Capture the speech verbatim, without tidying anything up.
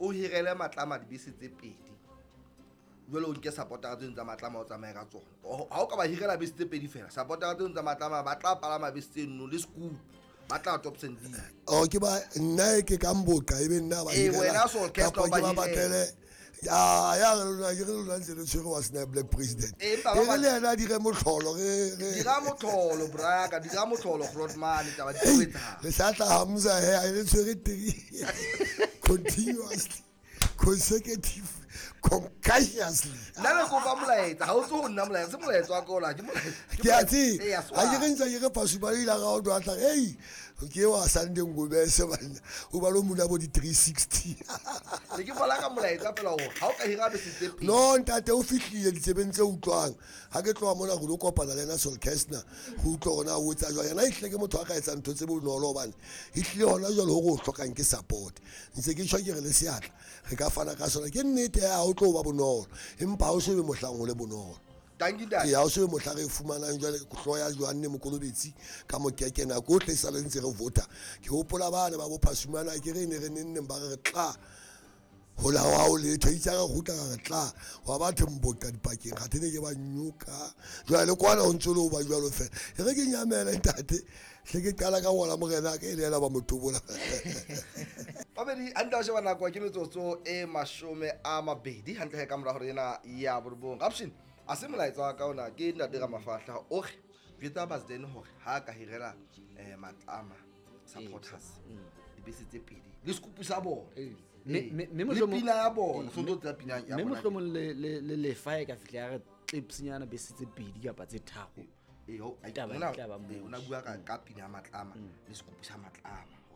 O hirele Matlama dibese tse pedi. Jwale o nke supportera tse ding tsa Matlama o tsamaye ka tsona. Ha o ka ba hirela bese tse pedi fela, supportera tse ding tsa Matlama ba tla palama bese tseno le scoop. Ba tla top sending. Oh ke ba nna ke ka mboqa ebe nna ba hirela. Eh wena so orchestra ba ba batlele. Ya ya lona ke re lona ntse le tshwere wa sna black president. E re le yena dire motlholo re re dira motlholo braka dira motlholo Grootman taba di etsa. Le sa tla Hamza he a le tshwere three continuously consecutive concussionly. Nna le kopa molaetsa ha o tso nna molaetsa se molaetsa wa ka ola ke molaetsa. Ke a tse ha ke re ntse ke re Pasuba ile ga o tla hey ke wa Sunday Ngobese bana o ba lo muna bo di three sixty. Le ke fola ka molaetsa fela hore ha o ka hira bese tse pedi. No ntate o fihlile ditsebeng tse utlwang ha ke tloha mona go lo kopana le yena Sol Kestner go utlwa hore na o etsa jwang. Yena ehlile ke motho a ka etsang ntho tse bonolo hobane ehlile hona jwale hore o hlokang ke support. Ntse ke tjho ke re le seatla re ka fana ka sona ke nnete ha o tlo ba bonolo empa ha o so be mohlang o le bonolo. Ke ya o so be mohlang re fumanang jwale hloya Johanne Mokolobetsi ka mokeke nako ohle sa le ntse re vota. Ke hopola bana ba bo Phasumana ke re ne re nenneng ba re re tla hola wa o letho itse re kgutla re tla wa batho mboqa dipakeng ga tene ke ba nyoka jwale kwana o ntse le o ba jwalo fela e re ke nyamela ntate hle ke qala ka ngola morena ka ile ela ba motobola. Babedi hantle wa sheba nako ke metsotso e mashome a mabedi hantle ka mora hore ena ya borobong. Option a se molaetsa wa ka ona ke ntate ka mafahla o re jwetsa Basden hore ha ka hirela eh Matlama supporters dibese tse pedi le scoop sa bona mme mme pina ya bona so tlo tsa pina ya bona mme mohlomong le le le fa e ka fihla ya re clipsnyana bese tse pedi kapa tse tharo e ho taba tla ba mo ona bua ka ka pina ya Matlama le scoop sa Matlama.